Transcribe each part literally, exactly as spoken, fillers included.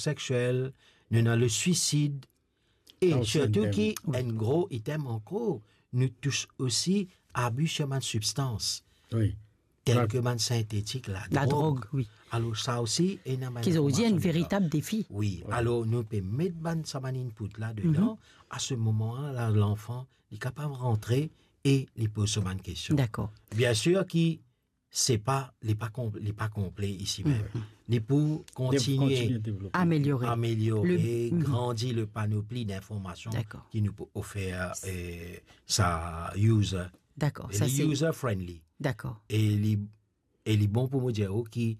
sexiel, nou ena le suisid, e sirtou ki enn gro item ankor, nou tous osi abi sir bann sibstans, tel ke bann sintetik, ladrog. Alor sa osi ena bann... Ki zordi enn veritab defi. Wi, alor nou pe met bann, sa bann input la dedan, a se moman la, lanfan, li kapav rantre e li poz so bann kestion. Dakor. Biensir ki se pa, li pa konp-, li pa konple isi mem. Li pou kontinie ameliore, grandi le panopli dinformasion ki nou pou ofer, e, sa user. Dakor, e sa li se user friendly. Dakor. E li, e li bon pou mo dir ou ki,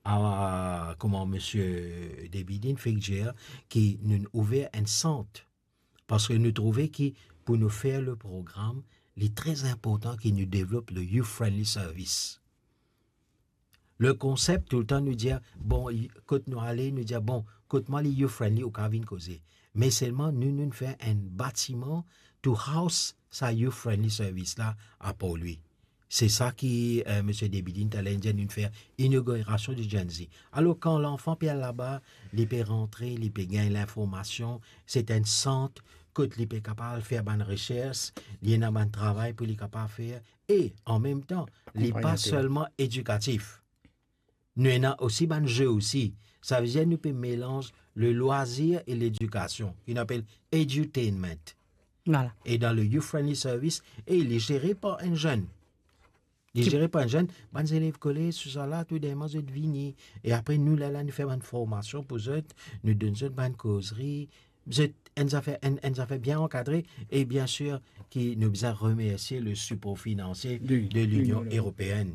a, kouma misie David inn fek dir, ki nou ouver enn sant, parski nou trouve ki pou nou fer le program, li tre inportan ki nou devlop le youth friendly service. Le konsep, toultan nou dir, bon, i-, kot nou ale, nou dir, bon, kot mwa li youth friendly, ou kapav vinn koze. Me selman, nou, nou fer enn batiman to house sa youth friendly service la apar li. Se sa ki, e, misie David inn taler dir, nou fer inogirasion di Gen Z. Alor, kan lanfan pe al laba, li pe rantre, li pe gagn linformasion, se enn sant kot li pe kapav fer bann resers, li ena bann travay pou li kapav fer, e, an mem tan, li pa selman edikatif. Nou ena osi bann ze osi. Savedir nou pe melanz le loisir e ledikasion, ki nou apel edutainment. Vwala. E dan le youth friendly service, e li zere par enn zenn. Li zere par enn zenn, bann zelev kolez, tousala, tou dimoun zot vini. E apre nou, lerla nou fer bann formasion pou zot, nou donn zot bann kozri, zot enn zafer, enn, enn zafer bien ankadre, e biensir ki nou bizin remersie le sipor finansie de Linion Eropeenn.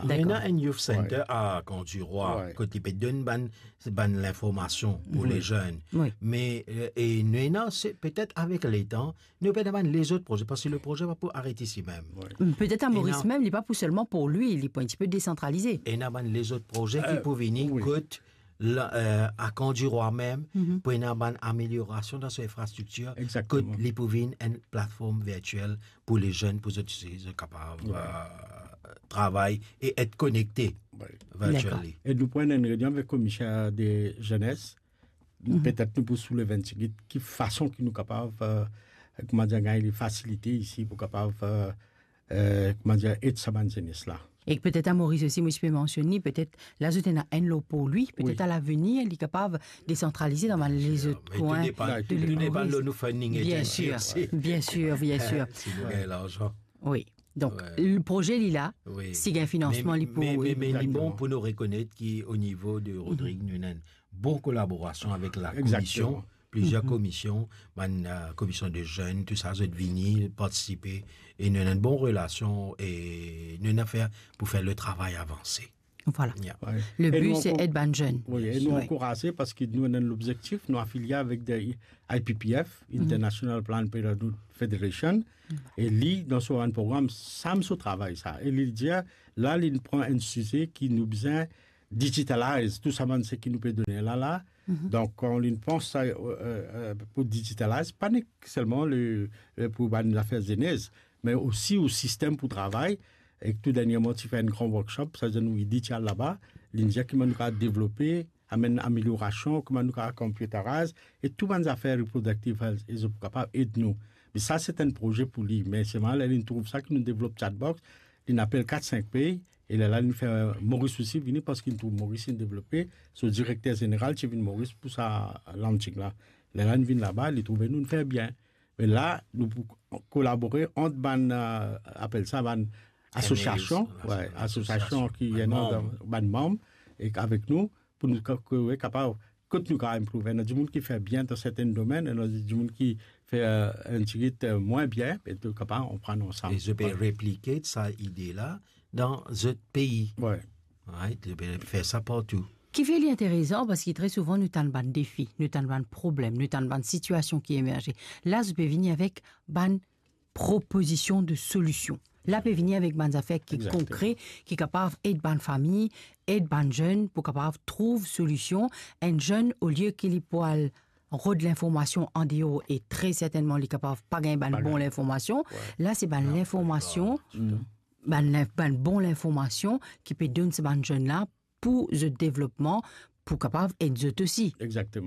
Nou ena enn youth center a Camp du Roi, kot li pe donn bann, bann linformasion pou le zenn. Me, e, e nou ena, se petet avek letan, nou pe ena bann lezot proze, parski le proze pa pou aret isi mem. Petet a Moris mem, li pa pou selman pou li, li pou enn tipe desantralize. Ena bann lezot proze ki pou vini, kot la, e, a Camp du Roi mem, pou ena bann ameliorasion dan so infrastriktir, kot li pou vinn enn platform virtiel pou le zenn, pou zot, zot kapav, e, travay e et konekte virtually. Dakor. E nou pran enn reynion avek komiser de zenes, petet nou pou soulev enn tigit ki fason ki nou kapav, e, koumadir, gagn li fasilite isi pou kapav, e, e, koumadir, ed sa bann zenes la. E petet a Moris osi, mo ti pe mansionn li, petet la zot ena enn lor pou li, petet a lavenir, li kapav desantralize dan bann lezot kwin de Moris. Tou depann lor nou funding agency osi. Biensir, biensir. Si nou gagn larzan. Wi. Donk, le proze li la, si gagn finansman, li pou... Me, me, me li bon pou nou rekonet ki o nivo de Rodrig, nou ena enn bon kolaborasion avek la komision, plizier komision, bann, e, komision de zenn, tou sa, zot vini partisipe, e nou ena enn bon relasion, e nou ena fer pou fer le travay avanse. Vwala. Le bi, se ed bann zenn. Wi, e nou ankouraze parski nou ena lobzektif, nou afilie avek de I P P F, International Planned Parenthood Federation, e li, dan so bann program, sa mem so travay sa. E li dir, la, li pran enn size ki nou bizin digitalize, tou sa bann seki nou pe done la, la. Donk, kan li pans sa, e, e, e, pou digitalize, pa nek selman le, e, pou bann zafer zenes, me osi o sistem pou travay, e tou dernierman, ti fer enn gran workshop, sa zenn nou idi ti al laba, li dir kouman nou kapav devlope, amenn ameliorasion, kouman nou kapav computerize, e tou bann zafer reproductive health, e zot pou kapav ed nou. Me sa, se enn proze pou li, me selman, ler li trouv sa, ki nou devlop chatbox, li apel kat sink pey, e lerla li fer Moris osi vini, parski li trouv Moris inn devlope, so direkter zeneral ti vinn Moris pou sa launching la. Lerla li vinn laba, li trouve nou, nou fer bien. Me la, nou pou kolabore ant bann, e, apel sa, bann asosiasion, M A As, wi, asosiasion ki ena bann manm, e avek nou, pou nou ka-, ke, wi, kapav, kot nou kapav improve. Ena dimoun ki fer bien dan serten domenn, ena dimoun ki fer, e, enn tigit, e, mwin bien, me nou kapav anpran ansam. E zot pe replike sa ide la dan zot pei. Wi. Right? Zot pe fer sa partou. Kifer li interesan, parski tre souvan nou tann bann defi, nou tann bann problem, nou tann bann sitiasion ki emerze. La, zot pe vini avek bann propozision de solision. La pe vini avek bann zafer ki konkre, ki kapav ed bann fami, ed bann zenn pou kapav trouv solision. Enn zenn, olie ki li pou al rod linformasion andeor, e tre sertennman li kapav pa gagn bann bon linformasion. La, se bann linformasion, bann lin-, bann bon linformasion ki pe donn sa bann zenn la pou zot devlopman, pou kapav ed zot osi. Exakteman.